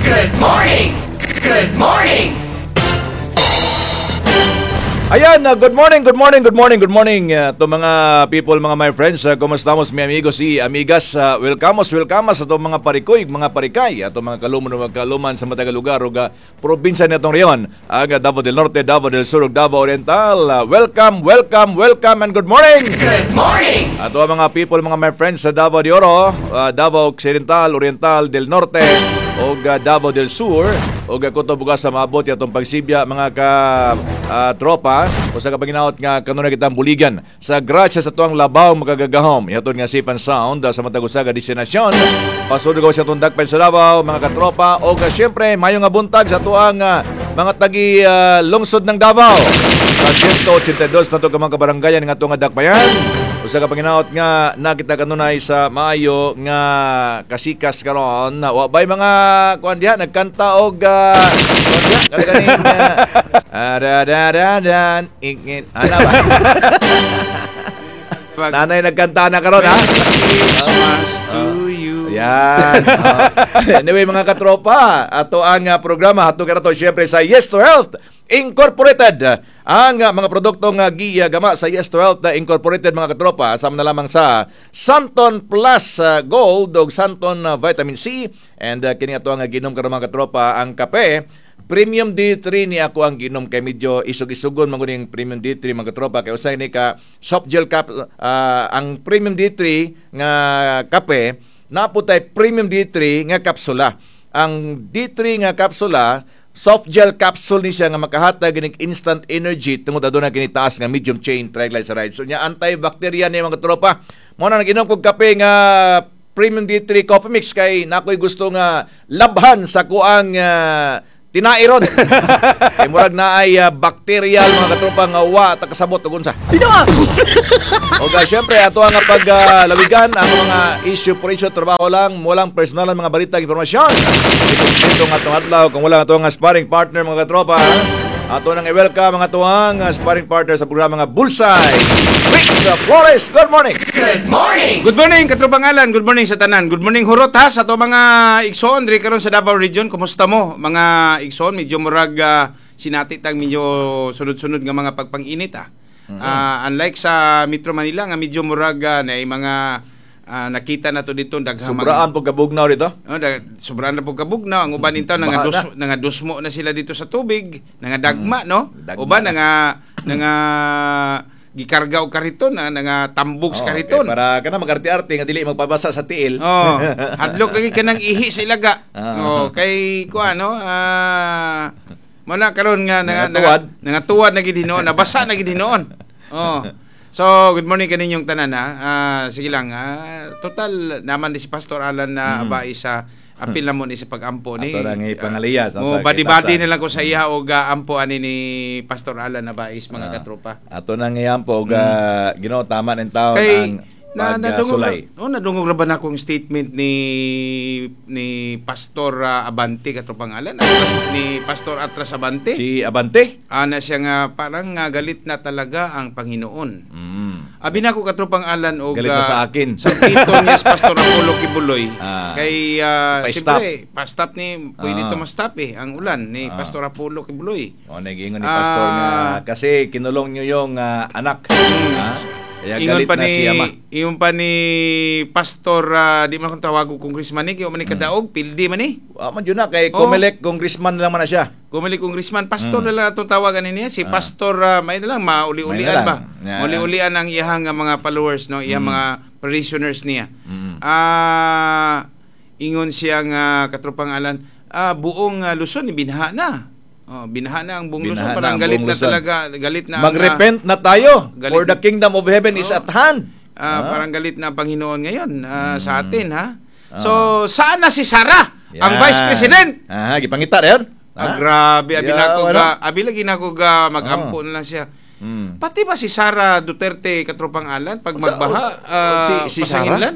Good morning. Good morning. Ayan, good morning, good morning, good morning, good morning to mga people, mga my friends. Kumusta mi amigos y amigas? Welcome, welcome sa itong mga parikoy, mga parikay, ato mga kaluman ug kaluman sa matag lugar ug probinsya natong rehiyon, ang Davao del Norte, Davao del Sur ug Davao Oriental. Welcome, welcome, welcome and good morning. Good morning. Ato ang mga people, mga my friends sa Davao de Oro, Davao Occidental, Oriental del Norte ug Davao del Sur ug kutob ug sa maabot atong pagsibya, mga ka tropa, usa ka paginaot nga kanunay kitang buligan sa grasya sa tuang labaw makagagahom ihatod nga safe and sound sa matag usa ka destinasyon pasud sa atong dakpen sa Davao, mga katropa, ug syempre maayong nga buntag sa tuang mga tagi lungsod ng Davao sa 182 nato ka mga kabaranggayan nga atong nga dakbayan. Usa ka panginaot nga nakita kanunay sa maayo nga kasikas karon. Wa bay mga kuan diha nagkanta og kuan diha kani kaning da da da dan ingit ana ba? Nanay nagkanta na karon, ha? Christmas to you. Yan. Anyway, mga katropa, ato ang programa ato karato syempre sa Yes to Health Incorporated. Ang mga produkto nga gigama sa Yes to Health Incorporated, mga katropa, sama na lamang sa Santon Plus Gold ug Santon Vitamin C and kini ato ang ginom karon, mga katropa, ang kape Premium D3 ni ako ang ginom kay medyo isog-isugon man gud Premium D3, mga katropa, kay usay ni ka soft gel cap ang Premium D3 nga kape. Naputay Premium D3 nga kapsula. Ang D3 nga kapsula, soft gel capsule ni siya nga makahatag inig instant energy tungod aduna kini taas nga medium chain triglycerides. So nya antibacterial ni, mga tropa. Mo na nag-inom kog kape nga Premium D3 coffee mix kay nakoy gusto nga labhan sa kuang tinairon. Kay murag naay bacterial, mga katropa, nga wa ta kasabot ug unsa. O guys, syempre ato ang paglawigan ang mga issue por issue, trabaho lang, walang personal ang mga balita, impormasyon. Dito nga atong adlaw kung wala ato ang sparring partner, mga katropa. Ato nang i-welcome ang atuang sparring partner sa programa nga Bullseye, Rix Flores. Good morning. Good morning. Good morning, katropang Alan. Good morning sa tanan. Good morning, hurot ha, sa ato mga igsoon diri karon sa Davao Region. Kumusta mo, mga igsoon? Medyo murag sinati tang medyo sunod-sunod nga mga pagpang-init ah. Unlike sa Metro Manila nga medyo murag na mga nakita na to dito daghang Sobraan po kabugnaw dito. Oh, sobrang na po kabugnaw. Ang uban nito Baha nangadusmo na sila dito sa tubig, nangadagma, no? Dagma Uban na. Nanga gikarga og kariton, na nangatambog sa Oh, kariton. okay, para kana magarti-arte nga dili magpabasa sa tiil. Oh, hadlok lagi kanang ihi sa ilaga. Ah. Oh, kay kuan no, mo na karon nga Nangatuwad. nangatuwad na gid hinuon, nabasa na gid hinuon. Oh. So, good morning kaninyong tanan ha. Sige lang, total naman ni si Pastor Alan na abay sa apil na mo ni sa pag-ampo ni. Ato lang ipangaliya sa Oh, sa badi-badi kitasan. na lang ko sa iya og ampo ani ni Pastor Alan Abais, mga katropa. Ato nang iyampo og Ginoo tama ning taon Kay ang na nadungog pagsulay. Oh, nadungog ra ba na akong statement ni ni Pastor Abante, katropang Alan, Atras, ni Pastor Atras Abante? Si Abante. Ana siya nga parang nga galit na talaga ang Panginoon. Abi na ko, katropang Alan, og Galit na sa akin. Sa pito niya si Pastor Apollo Quiboloy. Kay Pa-stop. siyempre pa-stop ni pwede to ma-stop eh ang ulan ni Pastor Apollo Quiboloy. O, nag-ingon ni Pastor nga kasi kinulong niyo yung anak. Kaya Ingon galit pa na ni si ama. Ingon pa ni Pastor di man akong tawago congressman ni kay man ni kadaog pildi man ni. Wa man yun na kay Oh. Comelec congressman lang man na siya. Kumili congressman, pastor na lang atong tawagan niya si Pastor may na lang mauli-ulian May na lang. ba. Yeah. Mauli-ulian ang iyahang mga followers no, iyang mga parishioners niya. Ingon siya nga, katropang Alan, buong Luzon binaha na. Oh, binaha na ang buong Binaha Luzon, na parang ang galit buong na Luzon. talaga, galit na ang, Magrepent na tayo galit for the kingdom of heaven is Oh. at hand. Parang galit na ang Panginoon ngayon sa atin ha. So, saan na si Sara, ang Yan. Vice President? Ah, gipangita na yun. Grabe, abi Yeah, na ko wala. ga, abi lagi na ko ga mag-ampo na lang siya. Pati ba si Sara Duterte, katropang Alan, pag magbaha, si Sara? pasanginlan?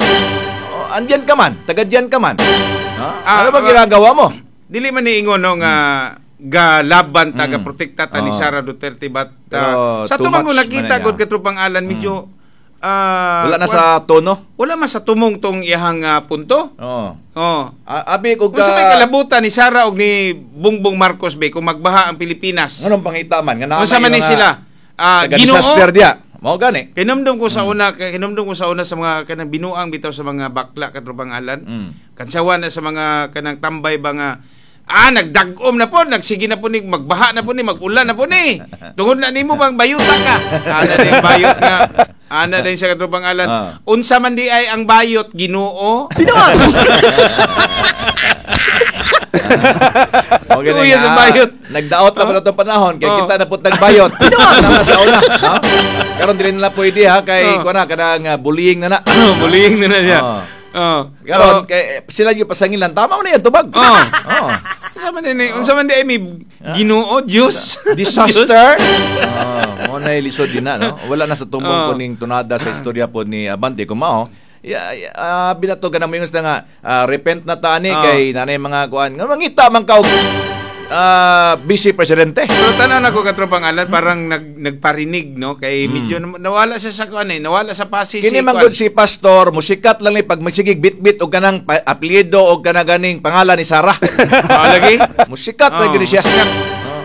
Oh, andyan ka man, taga diyan ka man. Ha? Ah, Ano ba ginagawa mo? Dili man ni ingon no nga ga laban ta ga protekta ta ni Oh. Sara Duterte, but Pero sa too tumang much nakita man na gud, niya. katropang Alan, medyo Wala na sa tono. Wala man sa tumong tong iyahang punto. Oo. Oh. Abi kog Kung sa may kalabutan ni Sara og ni Bongbong Marcos be kung magbaha ang Pilipinas. Nganong pangita man nga naa Unsa man ni sila? Ginoo. Disaster diya. Mao gani. Kinumdum ko sa una, kinumdum ko sa una sa mga kanang binuang bitaw sa mga bakla katropang Alan. Kansawan na sa mga kanang tambay ba nga nagdag-om na po, nagsige na po ni, magbaha na po ni, magulan na po ni. Tungod na nimo bang bayuta ka. Ana din bayot nga. Ana din sa katropang Alan. Unsa man di ay ang bayot, Ginoo? Okay, Tuya sa bayot. Nagdaot na po na itong panahon kay kita na po tagbayot. Na sa una, ha? Karon dili na pwede ha kay kuan na kanang bullying na na. Bullying na na siya. Karon kay sila yung pasangilan, tama man na yan tubag. Oo. Unsa man ni, unsa man di ay may Ginoo, Diyos. Disaster. Mo na lisod din na, no? Wala na sa tumbong po ning tunada sa istorya po ni Abante kumao. Binato ka na mo yung nga repent na ta ani kay nanay mga kuan. Nga mangita man ka og vice presidente. Pero tanaw na ko katropang Alan, parang nagparinig, no? Kay medyo nawala siya sa kuan eh, nawala sa pasi Kini man gud si pastor, musikat lang ni pag magsigig bitbit og kanang apelyido og kanang ganing pangalan ni Sarah. Lagi. Musikat lang gid siya. Musikat.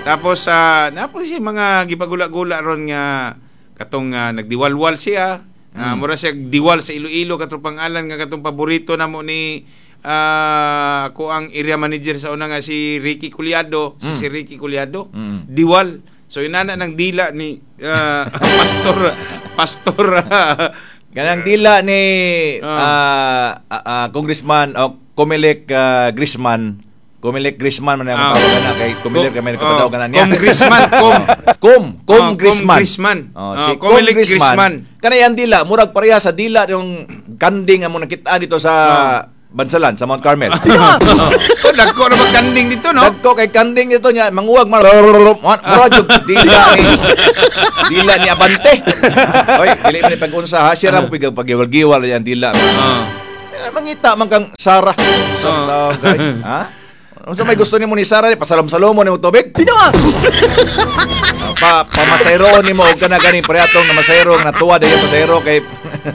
Tapos napo siya mga gipagula-gula ron nga katong nagdiwalwal siya. Mura siya diwal sa Iloilo katropang Alan nga katong paborito namo ni ako ang area manager sa una nga si Ricky Culiado, si Ricky Culiado. Diwal. So inana ng dila ni pastor Kanang dila ni Congressman o Comelec Grisman. Comelec Grisman man ang tawag na kay Comelec kay kapadaw kana niya. Congressman Com Grisman. Grisman. Si Comelec Grisman. Kanay ang dila murag pareha sa dila yung kanding ang mo nakita dito sa Bansalan sa Mount Carmel. Oh, dagko na magkanding dito, no? Dagko kay kanding dito niya manguwag murag dila ni dila ni Abante. Oy, dili man pag-unsa ha, siya ra mo pag-giwal-giwal yan dila. Mangita man kang Sarah. Sa kay, ha? Unsa may gusto nimo ni Sarah, pasalom-salomo nimo tubig? Pamasayro nimo og kana ganing parehatong na masayro nga natuwa dayon pasayro kay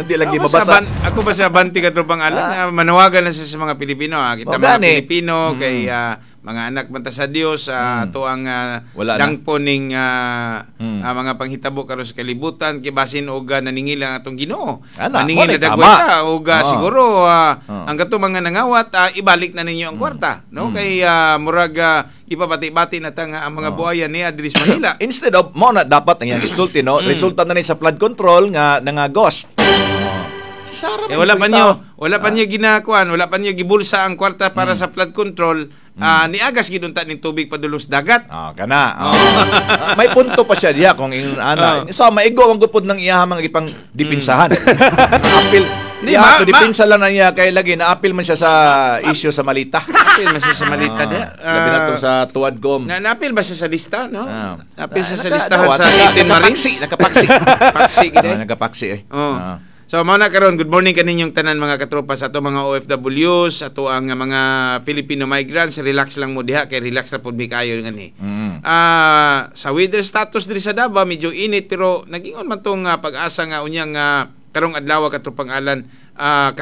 di lagi mabasa. Ako ba sa Abante katropang Alan, manawagan na siya sa mga Pilipino, kita mga Pilipino kay mga anak man ta sa Dios, ato ang dangpo ning mga panghitabo karon sa kalibutan kay basin og naningil ang atong Ginoo. Naningil na dagway ta og siguro ang katong mga nangawat ibalik na ninyo ang kwarta, no? Kay murag ipabati-bati na ta nga ang mga buhayan ni Adris Manila. Instead of mo na dapat ang iyang isulti, no? Resulta na ni sa flood control nga nangaghost. Sarah, eh, wala pa niyo ginakuan, wala pa niyo gibulsa ang kwarta para sa flood control. Niagas gid unta ning tubig padulong sa dagat. Kana. May punto pa siya diya kung ingon ana. So maigo ang gupod ng iya mga gipang dipinsahan. Apil. Di ma, dipinsa lang na niya kay lagi naapil man siya sa issue sa Malita. Apil man siya sa Malita diya. Labi na to sa Tuadcom. Naapil ba siya sa lista, no? Naapil siya sa listahan sa 18 Marines. Nakapaksi. Paksi gid. Nakapaksi eh. So mao na karon, good morning kaninyong tanan mga katropa sa ato mga OFWs, ato ang mga Filipino migrants, relax lang mo diha kay relax na pud mi kaayo ngani. Sa weather status diri sa Davao medyo init pero nagingon man tong pag-asa nga unyang karong adlaw katropang Alan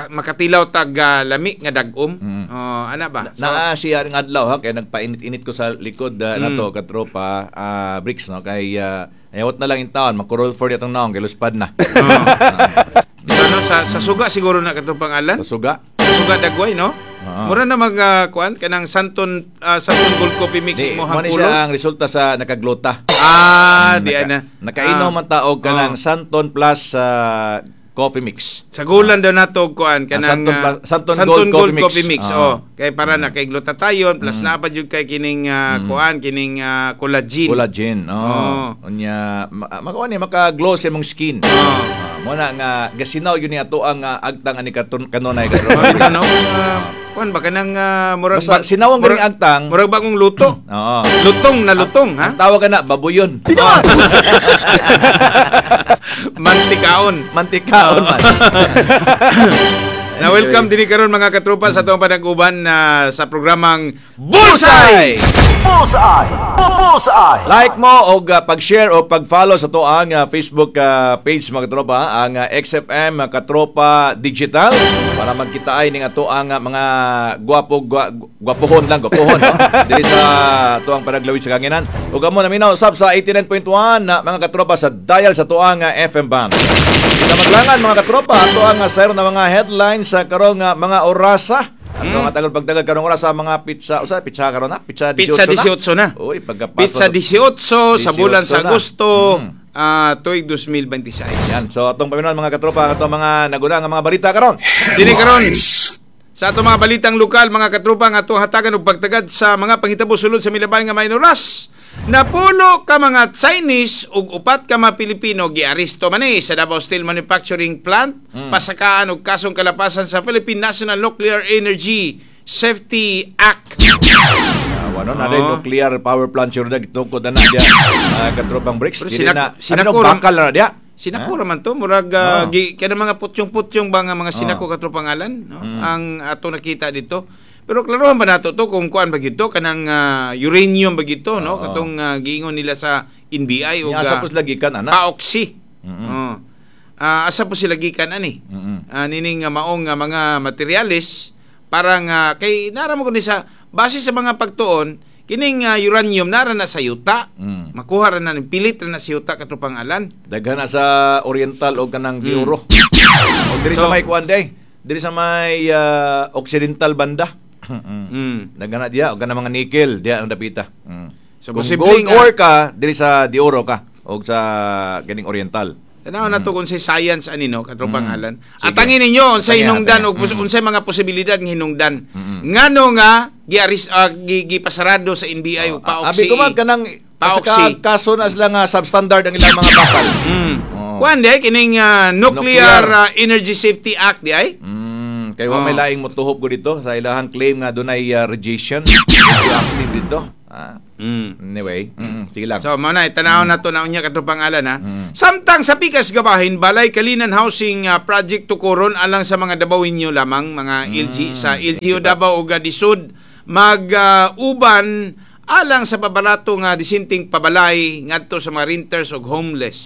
makatilaw tag lami nga dag-om. Ana ba? So, naa siya ang adlaw ha kay nagpainit-init ko sa likod nato katropa bricks no kay ayawat na lang in taon magkurol for atong naong kay luspad na. Dito, no, sa suga siguro na katropang Alan. Sa suga. Sa suga dagway, no? Mura na mag kuan kanang Santon Santon Gold Coffee Mix mo hang ulo. Siya ang resulta sa nakaglota. Di ana. Nakainom man ta og kanang Santon Plus Coffee Mix. Sa gulan daw nato og kuan kanang Santon Gold Coffee Mix. Oh, kay para na kay glutathione plus naa pa jud kay kining kuan kining collagen. Collagen. Oh. Unya makuan ni maka-glow sa imong skin. Mo na nga gasinaw yun ni ato ang agtang ani kanunay karon. Ano? Kuan ba kanang murag sinawang ganing agtang, murag bagong luto. Oo. Lutong na lutong, ha? Ang tawag na babuyon. Mantikaon. Mantikaon man. Na welcome dinhi karon, mga katropa, sa atong panag-uban na sa programang Bullseye! Bullseye. Bullseye. Like mo og pag-share o pag-follow sa to ang Facebook page, mga katropa, ang XFM Katropa Digital, para magkita ay ning ato ang mga gwapo gwapohon lang, gwapohon, no? Diri sa ato ang panaglawid sa kahanginan. Ug amo naminaw usab sa 89.1 na mga katropa sa dial sa ato ang FM band. Kita maglangan, mga katropa, ato ang sayro na mga headlines sa karong mga orasa. Ato ang atagol pagdagat karong orasa, mga petsa, usa petsa karon na, petsa 18. Petsa 18 na. Uy, pagkapasok. Petsa 18 sa bulan sa 18 na. Agosto, tuig 2026. Yan. So atong paminawan, mga katropa, ang atong mga naguna nga mga balita karon. Dini karon sa atong mga balitang lokal, mga katropa, nga atong hatagan og pagtagad sa mga panghitabo sulod sa milabay nga Minoras. Napulo ka mga Chinese ug upat ka mga Pilipino giaresto man eh sa Davao Steel Manufacturing Plant, pasakaan og kasong kalapasan sa Philippine National Nuclear Energy Safety Act. Wano na Oo. nuclear power plant sure na gitukod na na diya, katropang bricks. Pero Dili na sinako ano, bakal na diya. Sinako raman to, murag gi kana mga putyong-putyong ba nga mga sinako, katropang Alan, no? Ang ato nakita dito. Pero klarohan ba nato to kung kuan ba gyud to, kanang uranium ba gyud to, no? Katong giingon nila sa NBI ug Nya asa po sila gikan ana. Paoksi. Oh. Asa po sila gikan ani? Nining maong nga mga materyales, parang kay nara mo kundi sa base sa mga pagtuon kining uranium nara na sa yuta. Makuha ra na ni, pilit ra na sa yuta, katropang Alan. Daghan na sa Oriental o kanang Dioro. O diri sa may kuan day. Diri sa may Occidental banda. Daghan na diya og kanang mga nickel diya ang dapita. So, Kung posible gold nga- ore ka, diri sa Dioro ka o sa kining Oriental. Tanaw na to kung say science ani, no, katropang Alan. Sige. Atangin ninyo unsay Atangin, hinungdan atangin. og unsay mga posibilidad ng hinungdan. Ngano nga giaris gipasarado sa NBI ug Abi paoksi. ko man kanang Paoksi. kaso na sila nga substandard ang ilang mga bakal. Oo. Kuan di ay kining Nuclear, Nuclear. Energy Safety Act di ay? Kay wa may laing motuhop ko dito sa ilahang claim nga dunay radiation radioactive dito. Anyway, sige lang. So mao na tanaw na to na unya, katropang Alan, ha. Samtang sa pikas gabahin, Balay Kalinan Housing Project tukoron alang sa mga Dabawenyo lamang, mga LG sa LGU Davao ug Disud mag uban alang sa pabarato nga disinting pabalay ngadto sa mga renters ug homeless.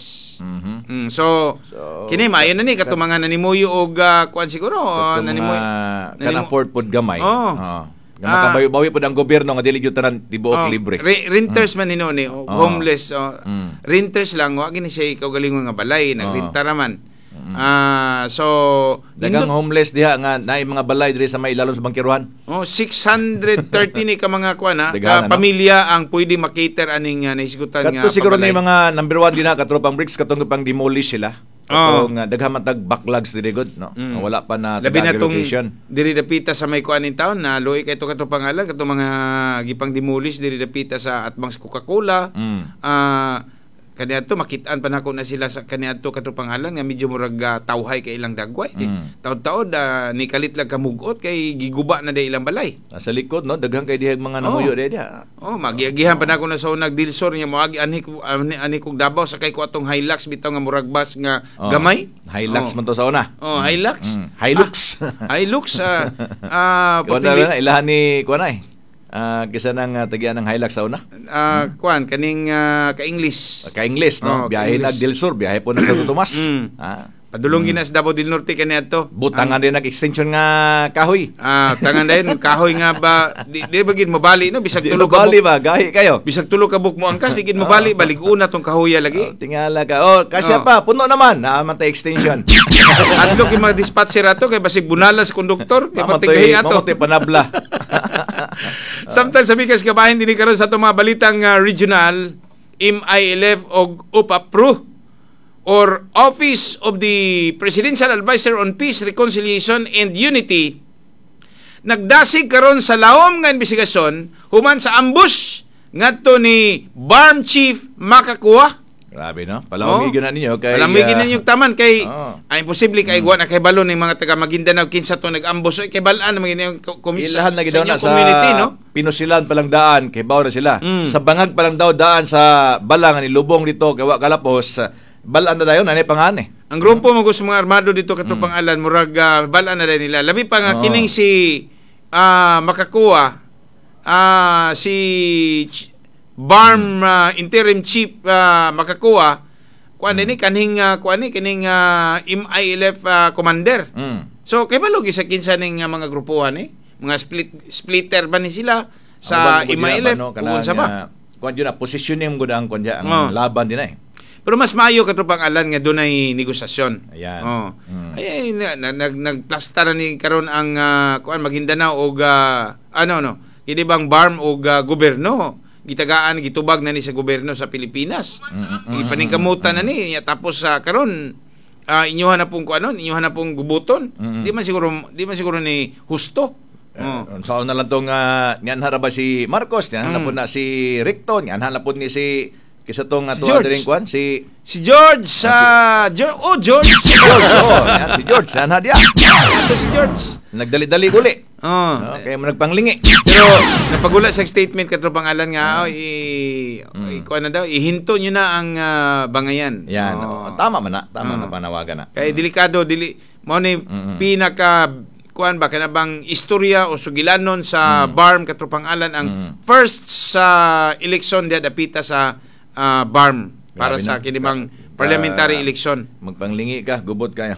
So, So, kini maayo na ni kato mga nanimuyo og kuan siguro Katong nanimuyo mga kan afford pod gamay. Oo. Oo. Nga makabawi-bawi pod ang gobyerno nga dili gyud tanan tibuok Oh, libre. Renters man hinuon ni, oh, homeless. Oh. Renters lang, wa gini siya kaugalingon nga balay, nagrenta raman. So Daghang nindot- homeless diha nga naay mga balay diri sa may ilalom sa bangkiruhan. Oh, 630 ni ka mga kuan ha, Daghan, ka ano? pamilya ang pwede makater aning nahisgutan nga Kadto siguro pabalay. ni mga number one din na, katropang bricks, katong pang demolish sila. Oo. Katong daghan man tag backlogs diri gud, no. Wala pa na Labi na tong relocation. diri dapita sa may kuan in town na luoy kay to kato pangalan katong mga gipang demolish diri dapita sa atbang sa Coca-Cola. Kaniadto makitaan pa nako na sila sa kaniadto kato pangalan nga medyo murag tawhay kay ilang dagway. Taod-taod ni kalit lang kamugot kay giguba na day ilang balay. Sa likod, no, daghan kay dihag mga namuyo diha diha. Oh, magiagihan pa nako na sa unag Dilsor niya moagi anhi anhi, anhi kog Davao sakay ko atong Hilux bitaw nga murag bus nga Oh. gamay. Hilux Oh. man to sa una. Oh, Hilux. Hilux. Ah, Hilux Kuan na ilahan ni kuan ay. Kisa nang tagian ng Hilux sa una. Kuan kaning ka-English. Ka-English, no? Oh, Biyahe ka-English. nag Del Sur, biyahe po nag Santo Tomas. Padulong gina sa Davao del Norte kaniadto. Butangan din nag-extension nga kahoy. Tangan dayon kahoy nga ba di ba gid mabali, no, bisag Di tulo ka mabali buk, ba? Gahi kayo. bisag tulo ka buk mo angkas di gid mabali, balig-una tong kahoya Oh, lagi. tingala ka. Oh, kasya Oh. pa, puno naman. Naaman tay extension. Adlok yung mga dispatcher ato kay basig bunalas konduktor, kay Mamatay, patigahi ato. mamatay panabla. Samtang sa bikas kabahin dinhi karon sa atong mga balitang regional, MILF og UPAPRU or Office of the Presidential Advisor on Peace, Reconciliation and Unity nagdasig karon sa laom nga investigasyon human sa ambush ngadto ni BARMM Chief Makakuha. Grabe, no? Palawigin na ninyo kay Palawigin ninyo taman kay Oo. ay imposible kay wa na kay balon ng mga taga Maguindanao kinsa to nag-ambush ay kay balaan naman yung Ilahan lagi daw sa na inyong community, sa no? Pinusilan pa lang daan, kay baw na sila. Sa bangag pa lang daw daan sa balang ni lubong dito kay wa kalapos, balaan na dayon anay pangan eh. Ang grupo mo gusto mga armado dito katropang Alan, murag bala na rin nila. Labi pa nga kining si makakuha si BARMM interim chief makakuha kuan ni kanhing kuan ni kining MILF commander. So kay balo sa kinsa ning mga grupuhan ni, mga splitter ba ni sila sa MILF no, kung sa ba? Kuan yun na positioning gud ang kuan ang laban din eh. Pero mas maayo katropang Alan nga dunay negosasyon. Ayan. Oh. Ay nagplasta na ni karon ang kuan Maguindanao og ano no, kini bang BARMM og gobyerno. Gitagaan gitubag na ni sa gobyerno sa Pilipinas. Ipaningkamutan na ni tapos sa karon inyuhan na pong kuanon, inyuhan na pong gubuton. Di man siguro ni husto. Saan na lang tong nianha ra ba si Marcos, nianha na po na si Recto, nianha na po ni si kisa tong si ato George. Kuan si si George George. Si George, oh, si George, nianha diya. Ato si George. Nagdali-dali uli. Oh. Okay, mo nagpanglingi. Pero napagula sa statement katropang Alan nga ikuan na daw, ihinto niyo na ang bangayan. Yan. Oh. Tama man na, tama na panawagan na. Kay delikado dili mo ni pinaka kuan ba kana bang istorya o sugilanon sa BARMM katropang Alan ang first sa eleksyon diha dapita sa BARMM para grabe sa na. kinibang parliamentary election. Magpanglingi ka, gubot kayo.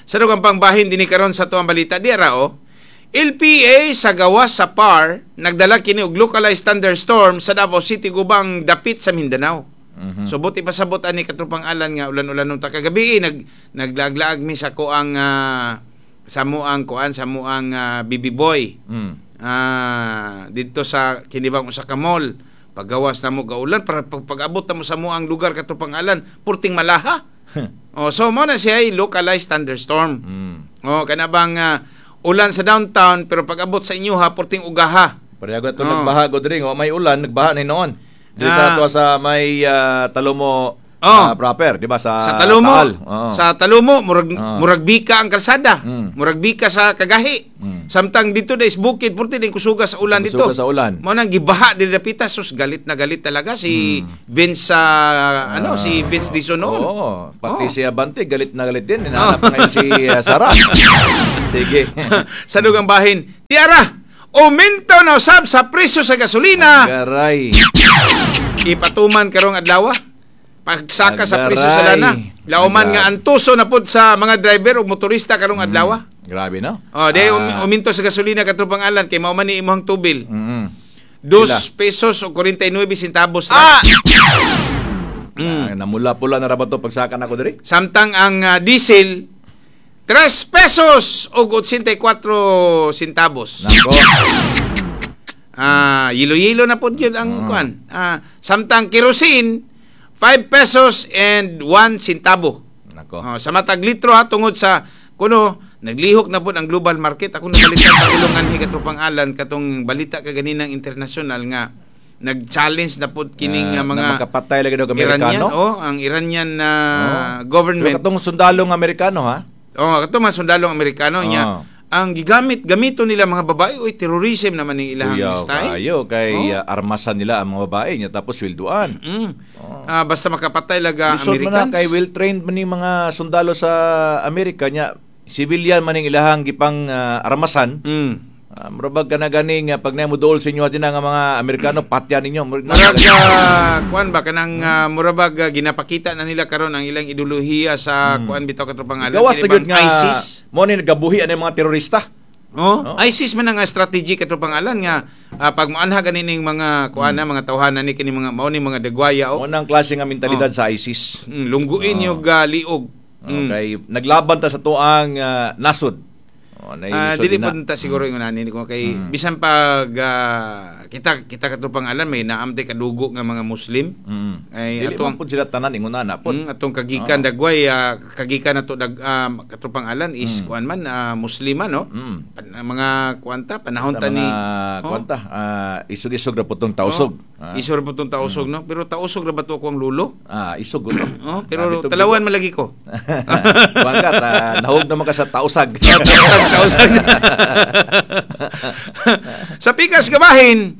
Sa dugang pangbahin dinhi karon sa tuang balita dira oh. LPA sa gawas sa PAR nagdala kini og localized thunderstorm sa Davao City gubang dapit sa Mindanao. So buti pasabot ani katropang Alan nga ulan-ulan ta kagabi naglaaglaag mi sa kuang sa muang kuan sa muang BB Boy. Didto sa kinibang usa ka mall. Paggawas na mo gaulan para pag-abot na mo sa muang lugar katropang Alan purting malaha. Oh, so mo na siya ay localized thunderstorm. Oh, kana bang ulan sa downtown pero pag-abot sa inyo ha purting ugaha. Pareho to nagbaha god ring, may ulan nagbaha ni noon. Diri sa ato sa may Talomo proper, di ba sa Talomo. Taal. Sa Talomo murag bika ang kalsada. Murag bika sa Kagahi. Samtang dito na is bukid purti din kusuga sa ulan dito. Kusuga sa ulan. Mao nang gibaha diri dapita sus galit na galit talaga si Vince si Vince Dizon noon. Oo, pati si Abante galit na galit din. Hinahanap ngayon si Sara. Sige. Sa dugang bahin, tiara, uminto na usab sa presyo sa gasolina. Garay. Ipatuman karong adlaw. Pagsaka sa presyo sa lana. Lauman nga antuso na pud sa mga driver o motorista karong adlaw. Grabe no. Oh, di uminto sa gasolina katropang Alan kay mao man ni imong tubil. 2 pesos o 49 centavos na. Namula-pula na ra ba to pagsaka nako diri? Samtang ang diesel 3 pesos o 84 centavos. Nako. Yilo-yilo na pod yun ang kuan. Samtang kerosene 5 pesos and 1 centavo. Nako. Sa matag litro ha tungod sa kuno naglihok na pod ang global market. Ako nabalita sa ulungan hi katropang Alan katong balita kaganinang international nga nag-challenge na pod kining mga makapatay lagi daw Amerikano. Iranian, ang Iranian government. Pero katong sundalong Amerikano ha. Oh, katong mga sundalong Amerikano niya. Ang gamito nila mga babae, oy terrorism naman ning ilahang style. Ayo kay armasan nila ang mga babae niya tapos swelduan. Basta makapatay laga Americans. Man na, kay well trained man ning mga sundalo sa Amerika niya, civilian man ning ilahang gipang armasan. Murabag ka na ganing pag na mo duol sa inyo din ang mga Amerikano patya ninyo. Murag kuan ba kanang murabag ginapakita na nila karon ang ilang ideolohiya sa kuan bitaw katropang Alan. Gawas na gyud nga ISIS. Mo ni nagabuhi ani mga terorista. Oh, ISIS man ang strategy katropang Alan nga pag moanha ganining mga kuan na mga tawhana ni kini mga mao ni mga dagwaya o. Mo nang klase nga mentalidad sa ISIS. Lungguin yung liog. Okay, naglaban ta sa tuang nasod. Dili po ta siguro yung unanin ko kay bisan pag kita katropang Alan may naamte kadugo nga mga Muslim. Ay dili atong pud sila tanan ingon na pod. Atong kagikan dagway kagikan nato katropang Alan is kuan man Muslima no. Mga kuanta panahon ta ni kuanta isog-isog ra pud tong tausog. Isog ra pud tong tausog no, pero tausog ra ba to ako ang lulo? Isog pero talawan malagi ko. Kuan ka nahog naman ka sa tausag. Tausag. Sa pikas kabahin,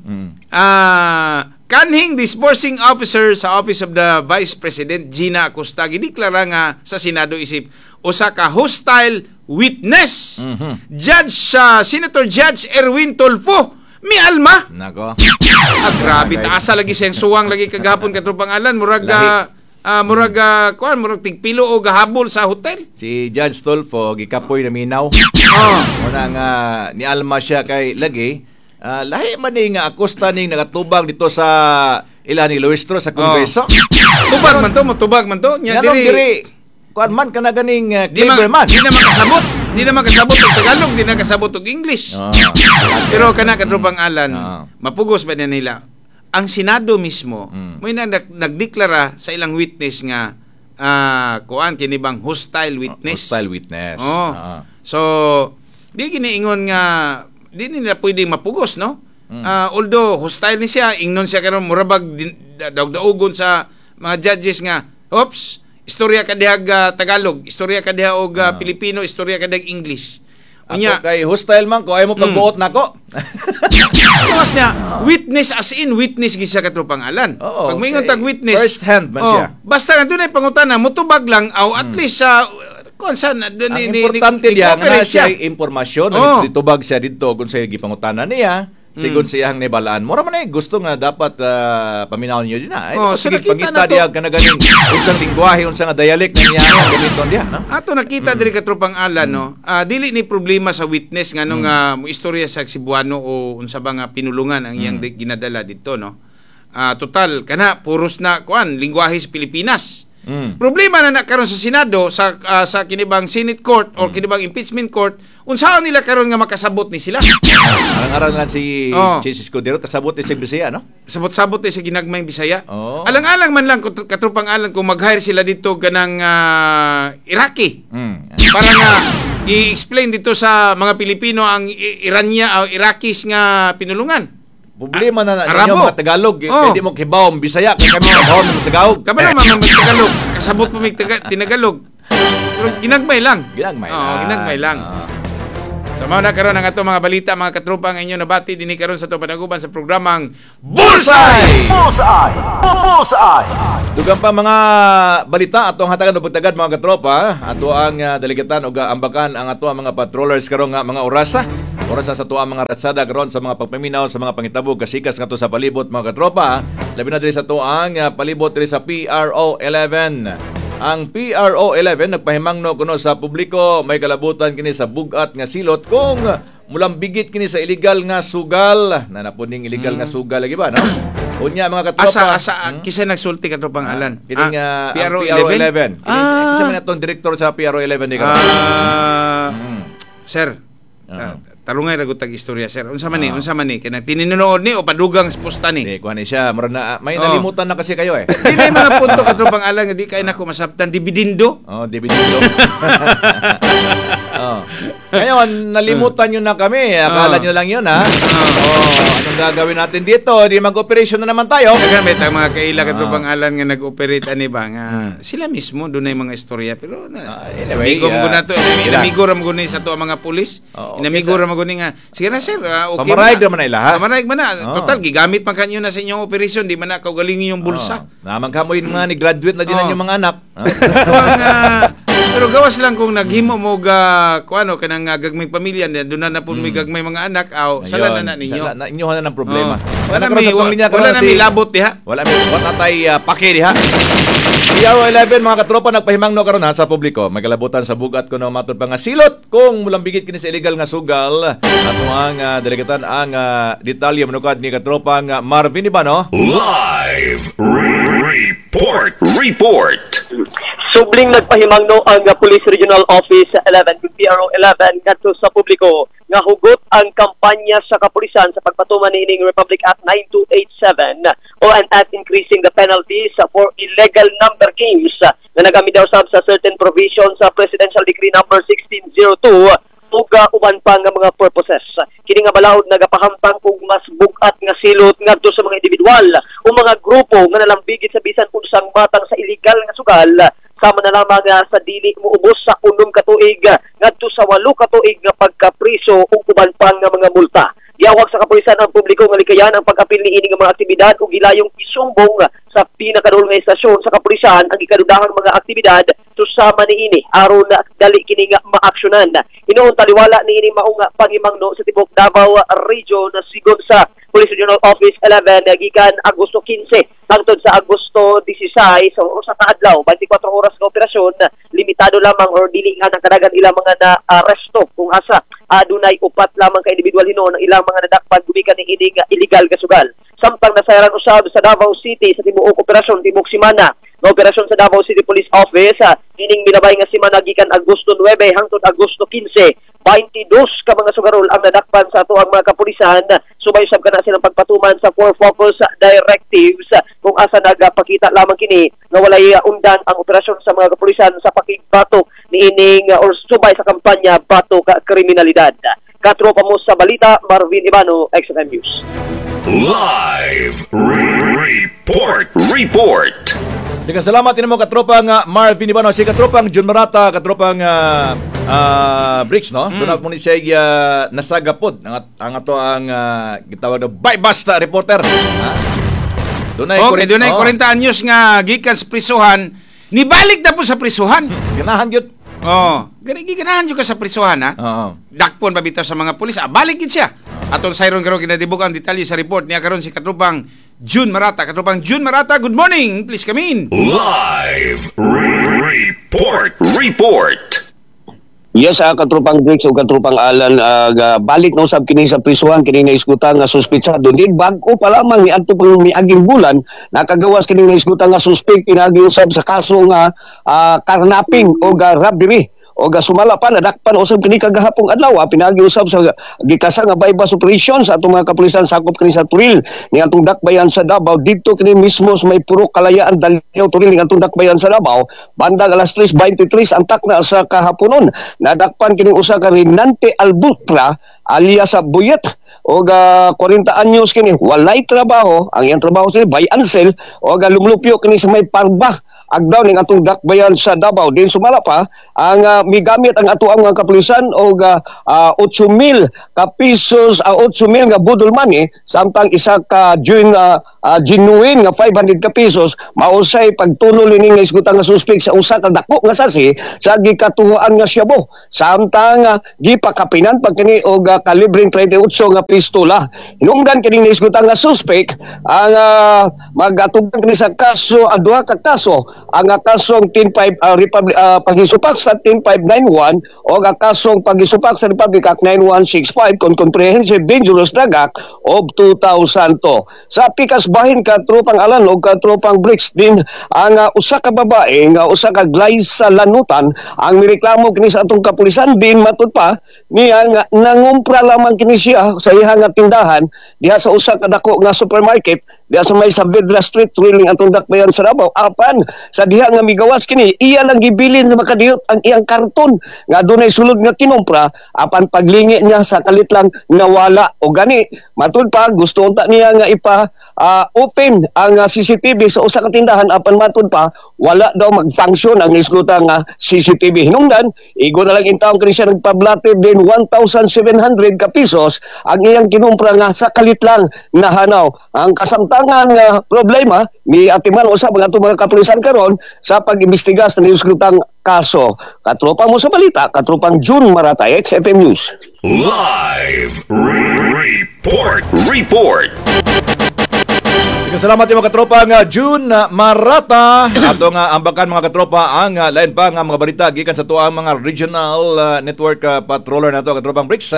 Kanhing disbursing officer sa Office of the Vice President Gina Acosta gideklara nga sa Senado isip usa ka hostile witness. Judge sa Senator Judge Erwin Tulfo mialma. Nako. Ah, grabe, taasa lagi siyang suwang lagi kagahapon, katropang Alan, murag Lahi. Murag kuan, murag tigpilo o gahabol sa hotel. Si Judge Tulfo gikapoy na minaw. Muna nga nialma siya kay lagi lahi man ni nga Acosta ning nagatubang dito sa ila ni Luistro sa Kongreso. Tubag man to, motubag man to. Nya Nganong diri diri kuan man kana ganing di man, clever man. di na makasabot. Di na makasabot og Tagalog, di na kasabot og English. Pero kana, katropang Alan, mapugos ba na nila? Ang Senado mismo, may na nagdeklara sa ilang witness nga kuan kini bang hostile witness. Hostile witness. Oh. So, di giniingon nga di nila pwedeng mapugos, no? Although hostile ni siya, ingnon siya karon murabag daog-daogon sa mga judges nga, "Oops, istorya ka dihag Tagalog, istorya ka diha og Pilipino, istorya ka dihag English." Ako Unya, kay hostile man ko, ay mo pagbuot nako. Gawas niya, witness as in witness gid siya, katropang Alan. Oo, Pag moingon kay tag witness, first hand man oh, siya. Basta nga dunay pangutana, mutubag lang aw at least sa kuan sa Ang importante diya nga na siya impormasyon, ditubag siya didto kung sa gipangutana niya, sigon sa iyang nibalaan. Mura man ay gusto nga dapat paminawon niyo din na. Ay, Oh, so sige, nakita pangita na to. diya kana ganing unsang lingwahe, unsa nga dialect na niya ang gamiton diha, no? Ato nakita diri, katropang Alan, no. Dili ni problema sa witness nganong mo istorya sa Cebuano o unsa ba nga pinulungan ang iyang ginadala didto, no. Total kana puros na kuan lingwahe sa Pilipinas. Problema na na karon sa Senado sa sa kinibang Senate Court or kinibang impeachment court, unsaon nila karon nga makasabot ni sila? Arang-arang lang si Chiz Escudero kasabot ni siya Bisaya, no? Sabot-sabot ni sa ginagmayng Bisaya. Oo. Alang-alang man lang katropang Alan kung mag-hire sila dito ganang Iraqi. Para nga i-explain dito sa mga Pilipino ang Irania o Iraqis nga pinulungan. Problema na na Arabo. ninyo mga Tagalog, eh. Oh. Hindi mo kibaw ang Bisaya kay kami kabaw ng Tagalog. Kabalo man mag Tagalog, kasabot pa mig Tinagalog. Pero ginagmay lang. Ginagmay Oo, lang. Ginagmay lang. So mao na karon ang ato mga balita, mga katropa, ang inyo nabati dinhi karon sa ato panaguban sa programang Bullseye! Bullseye! Bullseye! Dugang pa mga balita atong hatagan og pagtagad, mga katropa, ato ang daligitan og ambakan ang ato ang mga patrollers karon nga mga orasa. Orasa sa ato ang mga ratsada karon sa mga pagpaminaw sa mga pangitabo kasikas ngadto sa palibot, mga katropa. Labi na diri sa ato ang palibot diri sa PRO 11. Ang PRO 11 nagpahimangno kuno sa publiko may kalabutan kini sa bugat nga silot kung mulambigit kini sa illegal nga sugal na napuning illegal nga sugal lagi ba, no? Unya, mga katropa. Asa asa kisa nagsulti, katropang Alan? Kining PRO ang PRO 11. 11? Kining, ah. Kisa man direktor sa PRO 11 di karon. Sir, tarungay ra gud tag istorya, sir. Unsa man ni? Unsa man ni? Kanang tininunood ni o padugang sa posta ni? Di kuha ni siya, mura na may nalimutan na kasi kayo eh. Di na yung mga punto, katropang Alan, nga di kay nako masabtan dividendo. Oh, dividendo. Oh. Ngayon, nalimutan nyo na kami. Akala nyo lang yun, ha? Oh, anong gagawin natin dito? Di mag-operation na naman tayo. Daghan may tang mga kaila, katropang Alan, nga nag-operate ani ba nga sila mismo dunay mga istorya pero na, Anyway, amigo mo na to, sila. inamigo ra mo ni sa ato ang mga pulis. Oo, Inamigo okay, ra mo ni nga sige na sir, okay. Pamaraig man ra man na ila, ha? Pamaraig man na. Oo. Total gigamit man kanyo na sa inyong operation, di man na kaugalingin yung bulsa. Oh. Naman kamoy mga ni graduate na din ang inyong mga anak. Pero ang, pero gawas lang kung naghimo mo ga kuano kanang gagmay pamilya na doon na na po may gagmay mga anak aw sala na na ninyo. Sala na inyo na ng problema. Oh. Wala Wala may sa atong linya wala karon na may labot diha. Wala may wala tay pake diha. PRO 11, mga katropa, nagpahimangno karon ha sa publiko. May kalabutan sa bugat kuno matod pa nga silot kung mulambigit kini sa illegal nga sugal. Ato ang delegatan ang detalye manukad ni katropa nga Marvin Ibano. Live Report. Report. Subling nagpahimangno ang Police Regional Office 11, PRO 11, ngadto sa publiko nga hugot ang kampanya sa kapulisan sa pagpatuman niining Republic Act 9287 o an act increasing the penalties for illegal number games na nagamidaw sab sa certain provisions sa Presidential Decree number 1602 ug uban pa nga mga purposes. Kini nga balaod nagapahamtang og mas bug-at nga silot ngadto sa mga individual o mga grupo nga nalambigit sa bisan unsang matang sa illegal nga sugal, sama na lamang sa dili moubos sa 6 ka tuig ngadto sa 8 ka tuig nga pagkapriso ug uban pa nga mga multa. Giawag sa kapulisan ang publiko nga likayan ang pag-apil niini nga mga aktibidad ug gilayong isumbong sa pinakaduol nga istasyon sa kapulisan ang gikadudahang mga aktibidad susama niini aron dali kini nga maaksyonan. Hinuon taliwala niini maong pangimangno sa tibuok Davao Region sigon sa Police Regional Office 11 gikan Agosto 15 hangtod sa Agosto 16, so usa ka adlaw, 24 oras nga operasyon, limitado lamang or dili nga nakadagan ilang mga na-aresto kung asa adunay upat lamang ka individual hinuon ang ilang mga nadakpan gumikan ni ining illegal nga sugal. Samtang nasayran usab sa Davao City sa tibuok operasyon tibuok semana nga operasyon sa Davao City Police Office ining milabay nga semana gikan Agosto 9 hangtod Agosto 15, 22 ka mga sugarol ang nadakpan sa atoang mga kapulisan subay usab kana silang pagpatuman sa four focus directives kung asa nagapakita lamang kini nga walay undan ang operasyon sa mga kapulisan sa pakigbatok niining or subay sa kampanya Batok Kriminalidad. Katropa mo sa balita, Marvin Ibano, XFM News. Live Report. Report. Daghang salamat mo katropang Marvin Ibano, si katropang Jun Marata, katropang Bricks, no? Mm. Doon mo ni siya nasagapod ang ato ang gitawag na basta reporter. Ha? Dunay okay, dunay 40 anyos nga gikan sa prisuhan, nibalik na po sa prisuhan. Ganahan gyud. Oh, ganahan gyud ka sa prisuhan ha. Oo. Dakpon pa bitaw sa mga pulis, balik gid siya. Atong sayron karon kinadibog ang detalye sa report niya karon si katropang June Marata. Katropang June Marata, good morning. Please come in. Live Report. Report. Yes, katropang Bricks o katropang Alan, balik na usab kini sa prisuhan kini naisgutan nga suspitsado. Din bag-o pa lamang ni adto pang miaging bulan nakagawas kini naisgutan nga suspect pinagi usab sa kaso nga carnapping o robbery o sumala pa nadakpan usab kini kagahapong adlaw pinagi usab sa gikasa nga bypass operation sa atong mga kapulisan sakop kini sa Turil ni atong dakbayan sa Davao didto kini mismo sa may Purok Kalayaan Dalyaw Turil ni atong dakbayan sa Davao bandang alas 3:23 ang takna sa kahaponon. Nadakpan kini usa ka Renante Albutra alias sa Buyet og 40 anyos kini walay trabaho, ang iyang trabaho sila buy and sell og lumlupyo kini sa may Parba agdaw ning atong dakbayan sa Davao. Din sumala pa ang migamit ang ato ang mga kapulisan og 8,000 ka pesos, 8,000 nga budol money samtang isa ka genuine nga 500 ka pesos mausay pagtunol ini nga isgutan nga suspect sa usa ka dako nga sasi sa gikatuhoan nga syabo samtang gipakapinan pag kini og kalibreng 38 nga pistola. Hinungdan kini nga isgutan nga suspect ang magatubang kini sa kaso ang duha ka kaso, ang kasong 105 Republic pagisupak sa 10591 o ang kasong pagisupak sa Republic Act 9165 kon Comprehensive Dangerous Drug Act of 2002. Sa pikas bahin katropang Alan o katropang Bricks din ang usa ka babae nga usa ka Glyza Lanutan ang mireklamo kini sa atong kapulisan din matud pa niya nga nangumpra lamang kini siya sa iyang nga tindahan diha sa usa ka dako nga supermarket diha sa may Saavedra Street Triling atong dakbayan sa Davao. Apan sa diha nga migawas kini iya lang gibilin nga makadiyot ang iyang karton nga dunay sulod nga kinumpra apan paglingi niya sa kalit lang nawala. O gani matud pa gusto unta niya nga ipa open ang CCTV sa usa ka tindahan apan matud pa wala daw mag-function ang isgutan nga CCTV. Hinungdan igo na lang intawon kini siya nagpablate din 1,700 ka pesos ang iyang kinumpra nga sa kalit lang nahanaw. Ang kasamtangan nga problema ni atiman usab ang atong mga kapulisan karon sa pag-imbestiga sa niusgutang kaso. Katropa mo sa balita, katropang June Marata, XFM News. Live Report. Report. Salamat yung mga katropa nga June Marata. Ato nga ambakan mga katropa ang lain pa nga mga balita gikan sa tuang mga regional network patroller nato katropang Bricks.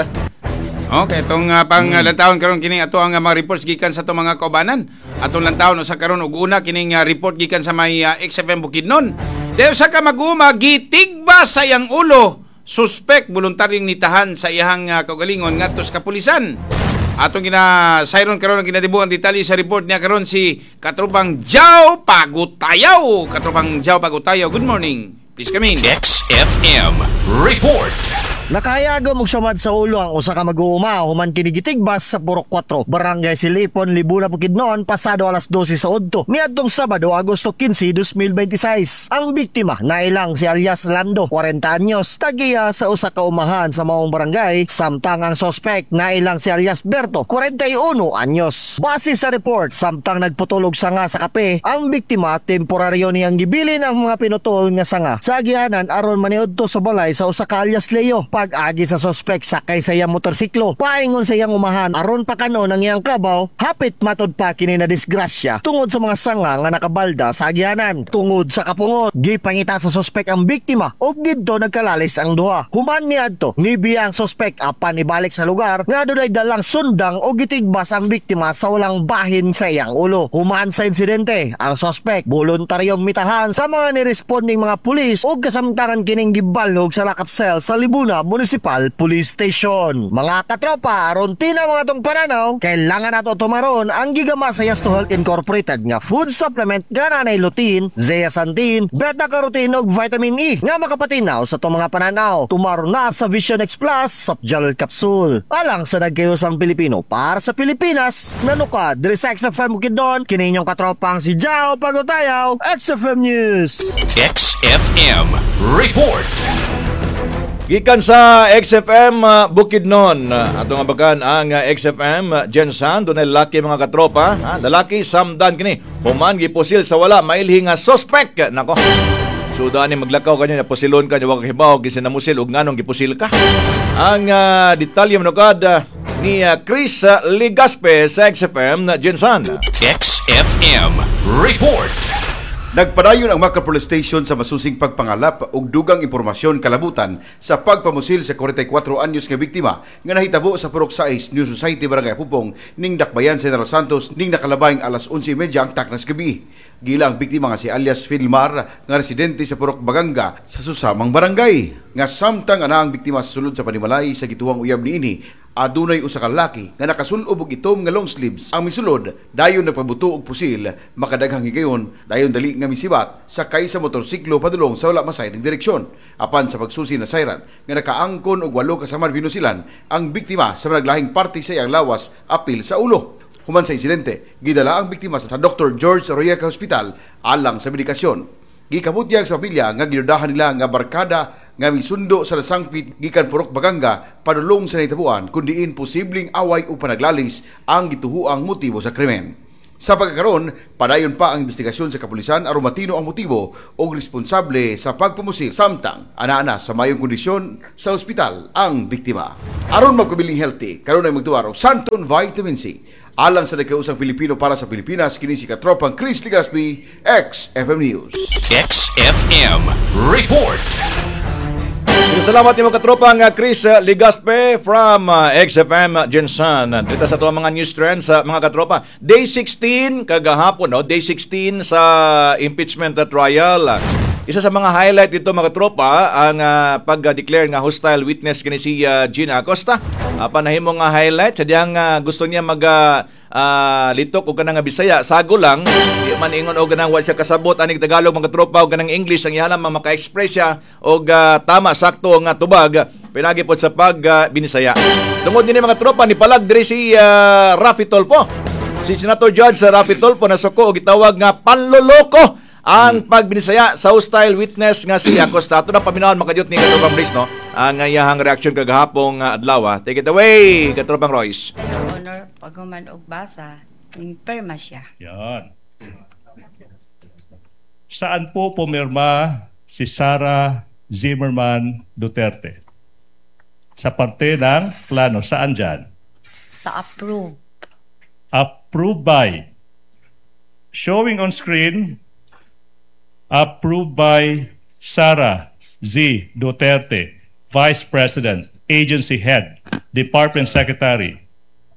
Okay, itong pang lantawon karon kining ato ang mga reports gikan sa atong mga kaubanan. Atong lantawon usa karon og una kining report gikan sa may XFM Bukidnon. Dayon sa ka mag-uma gitigba sa iyang ulo, suspect voluntaryong nitahan sa iyang kaugalingon ngadto sa kapulisan. Atong gina sayron karon ang kinadibuang detalye sa report niya karon si Katropang Jao Pagutayaw. Katropang Jao Pagutayaw, good morning. Please come in. XFM Report. Nakayagom og samad sa ulo ang usa ka mag-uuma human kini gitigbas sa Purok 4, Barangay Silipon, Libuna, Bukidnon, pasado alas 12 sa udto niadtong Sabado, Agosto 15, 2026. Ang biktima nailang si alias Lando, 40 anyos, tagiya sa usa ka umahan sa maong barangay, samtang ang sospek nailang si alias Berto, 41 anyos. Base sa report, samtang nagputol og sanga sa kape, ang biktima temporaryo niyang gibilin ang mga pinutol nga sanga sa agianan aron maniudto sa balay sa usa ka alias Leo. Pag-agi sa sospek sakay sa iyang motorsiklo paingon sa iyang umahan aron pakanon ang iyang kabaw, hapit matud pa kini na disgrasya tungod sa mga sanga nga nakabalda sa agianan. Tungod sa kapungot, gipangita sa sospek ang biktima ug didto nagkalalis ang duha. Human niadto, nibiya ang sospek apan ibalik sa lugar nga adunay dalang sundang o gitigbas ang biktima sa walang bahin sa iyang ulo. Human sa insidente, ang sospek voluntaryong mitahan sa mga niresponding mga pulis ug kasamtangan kining gibalhog sa lockup cell sa Libuna Municipal Police Station. Mga katropa, aron tina mga tong pananaw, kailangan nato tumaron ang gigama sa Yes to Health Incorporated nga food supplement nga nanay lutein, zeaxanthin, beta-carotene ug vitamin E nga makapatinaw sa itong mga pananaw. Tumaron na sa Vision X Plus Softgel Capsule. Alang sa nagkayusang Pilipino para sa Pilipinas, nanuka diri sa XFM Bukidnon, kini inyong katropang si Jao Pagutayaw, XFM News. XFM Report. Gikan sa XFM Bukidnon, ato nga bakan ang XFM Gensan, dunay lalaki, mga katropa, ha? Lalaki samdan kini human gipusil sa wala mailhi nga suspect. Nako. Suda ni maglakaw kanya, pusilon ka, wa ka hibaw kinsa namusil ug nganong gipusil ka. Ang detalye manukad ni Chris Ligaspe sa XFM Gensan. XFM Report. Nagpadayon ang Makar Police Station sa masusing pagpangalap og dugang impormasyon kalabutan sa pagpamusil sa 44 anyos nga biktima nga nahitabo sa Purok 6, New Society, Barangay Pupong, ning Dakbayan, General Santos, ning nakalabayng alas 11:30 ang taknas gabi. Gila ang biktima nga si alias Filmar nga residente sa Purok Baganga sa susamang barangay. Nga samtang ana ang biktima sa sulod sa panimalay sa gituwang uyab niini, adunay usa ka lalaki nga nakasulob og itom nga long sleeves ang misulod, dayon nagpabuto og pusil. Makadaghang higayon, dayon dali nga misibat sakay sa motorsiklo padulong sa wala masayod ng direksyon. Apan sa pagsusi na sayran nga nakaangkon og walo ka samad binusilan ang biktima sa naglahing parte sa iyang lawas apil sa ulo. Human sa insidente, gidala ang biktima sa Dr. George Royeca Hospital alang sa medikasyon. Gikabutyag sa pamilya nga gidudahan nila nga barkada nga misundo sa nasangpit gikan Purok Baganga padulong sa nahitabuan, kun diin posibleng away o panaglalis ang gituhuang motibo sa krimen. Sa pagkakaron, padayon pa ang investigasyon sa kapulisan aron matino ang motibo o responsable sa pagpamusil, samtang ana-ana sa mayong kondisyon sa ospital ang biktima. Aron magpabiling healthy, karon ay magtuwar og Santon Vitamin C. Alang sa nagkausang Pilipino para sa Pilipinas, kini si katropang Chris Ligaspi, XFM News. XFM Report. Salamat nimo, katropang Chris Ligaspe from XFM Gensan. Dito sa ato mga news trends sa mga katropa. Day 16 kagahapon, no? Day 16 sa impeachment trial. Isa sa mga highlight dito, mga katropa, ang pag-declare nga hostile witness kini si Gina Acosta. Panahimo nga highlight sa diyang gusto niya mag litok og kanang nga Bisaya. Sago lang, di man ingon og kanang wa siya kasabot aning Tagalog, mga katropa, og kanang English ang ihala maka-express siya og tama sakto nga tubag pinagi pod sa pag binisaya. Tungod dinhi, mga tropa, ni palag diri si Raffy Tulfo. Si Senator Judge sa Raffy Tulfo nasuko og gitawag nga panloloko ang pagbinisaya sa hostile witness nga si Acosta. Ato na paminawon, makajut ni Katropang Brice, no? Ang iyahang reaction kagahapong adlaw. Take it away, Katropang Royce. Your Honor, paghuman og basa, ning perma siya. Yan. Saan po pumirma si Sara Zimmerman Duterte? Sa parte ng plano. Saan dyan? Sa approve. Approved by. Showing on screen, approved by Sara Z. Duterte, Vice President, Agency Head, Department Secretary,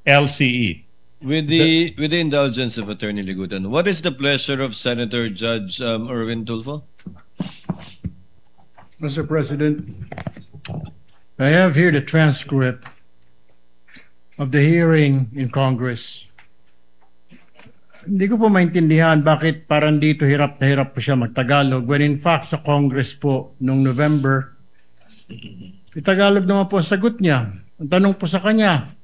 LCE. With the indulgence of Attorney Ligutan, what is the pleasure of Senator Judge Erwin Tulfo? Mr. President, I have here the transcript of the hearing in Congress. Hindi ko po maintindihan bakit parang dito hirap na hirap po siya magtagalog when in fact sa Congress po noong November Tagalog naman po ang sagot niya. Ang tanong po sa kanya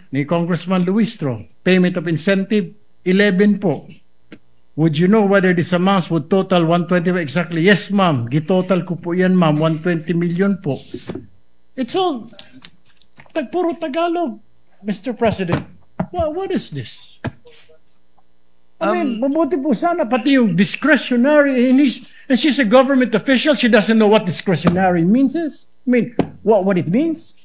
ni Congressman Luistro, payment of incentive, 11 po. Would you know whether these amounts would total 120 exactly? Yes, ma'am. Gitotal ko po yan, ma'am. 120 million po. It's all puro Tagalog, Mr. President. What is this? I mean, mabuti po sana pati yung discretionary, and she's a government official, she doesn't know what discretionary means is. I mean, what it means.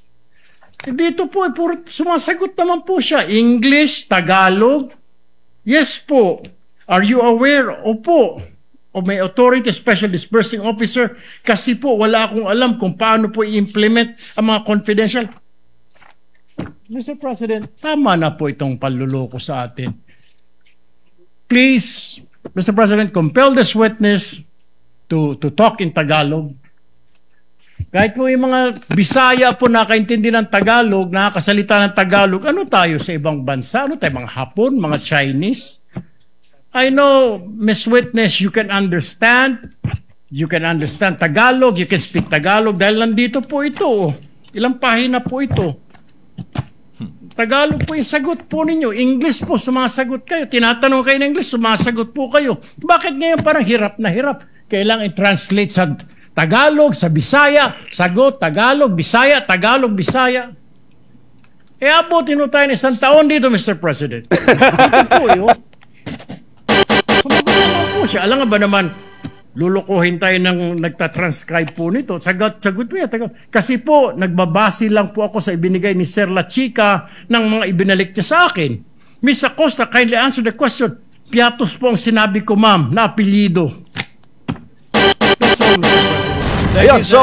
Eh, dito po, eh, puro sumasagot naman po siya. English, Tagalog. Yes po. Are you aware? Opo. Of my authority, special disbursing officer, kasi po wala akong alam kung paano po i-implement ang mga confidential. Mr. President, tama na po itong panluloko sa atin. Please, Mr. President, compel this witness to talk in Tagalog. Kahit po yung mga Bisaya po nakaintindi ng Tagalog, nakakasalita ng Tagalog, ano tayo sa ibang bansa? Ano tayo, mga Hapon, mga Chinese? I know, Miss Witness, you can understand. You can understand Tagalog, you can speak Tagalog dahil nandito po ito. Oh. Ilang pahina po ito. Tagalog po yung sagot po ninyo. English po, sumasagot kayo. Tinatanong kayo ng English, sumasagot po kayo. Bakit ngayon parang hirap na hirap? Kailangan i-translate sa Tagalog, sa Bisaya, sagot, Tagalog, Bisaya, Tagalog, Bisaya. E abutin mo tayo ng isang taon dito, Mr. President. Ito po, yun. Sumagot naman po siya. Alam nga ba naman, lulukuhin tayo ng nagta-transcribe po nito. Sagot, sagot po yan. Kasi po, nagbabase lang po ako sa ibinigay ni Sir La Chica ng mga ibinalik niya sa akin. Miss Acosta, kindly answer the question. Piatos po ang sinabi ko, ma'am, na apelyido. That's all, Mr. President. Ayun, so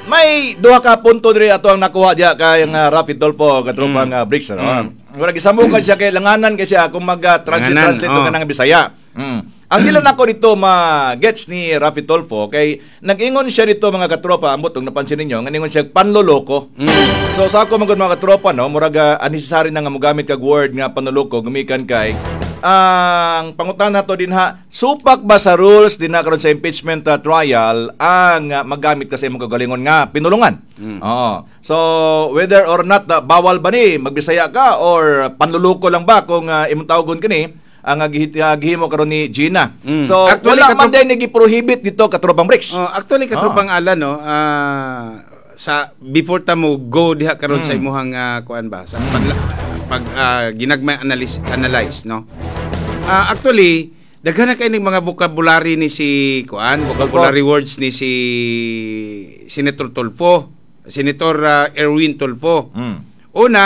may duha ka punto diri ato ang nakuha diya kay nga Raffy Tulfo, katropang Bricks, ano. Mura gisamukan siya kay langanan kay siya kung mag-translate Langanan, translate oh. ka ng Bisaya. Ang dili nako dito ma-gets ni Raffy Tulfo kay nag-ingon siya dito, mga katropa, ambot kung napansin ninyo, nga ningon siya panloloko. So sa ako man gud, mga katropa, no, murag unnecessary na nga mogamit kag word nga panloloko gumikan kay ang pangutana to din ha, supak ba sa rules din na karon sa impeachment trial ang maggamit kasi imong kagalingon nga pinulungan? Oo. So whether or not bawal ba ni magbisaya ka or panluloko lang ba kung imong tawagon kini ang gihimo karon ni Gina. So Actually, wala man din nagi-prohibit dito, katropang Bricks. Oh, actually, katropang Alan, no, sa before ta mo go diha karon sa imuhang kuan ba sa pag ginagmay analyze analyze, no. Actually, daghan na kay ning mga vocabulary ni si kuan, vocabulary words ni si Senator Tulfo, Senator Erwin Tulfo. Una,